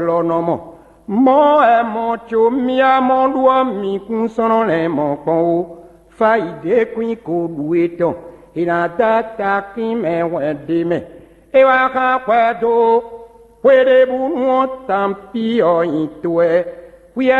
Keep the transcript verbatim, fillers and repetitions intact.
lɔ nɔ mɔ. Mɔ̌ wɛ mɔ có mì amɔ ɖu ɔ́, mi kún slɔ́n lɛ́n mɔ kpɔ́n ó. Fá yi ɖě kwín ko ɖu etɔn, è nǎ dó takín mɛ hwɛ̌n ɖ'é mɛ. É wá hán hwɛ dó xwéɖébǔnu ɔ́, tanpí ɔ́ nyi to wɛ.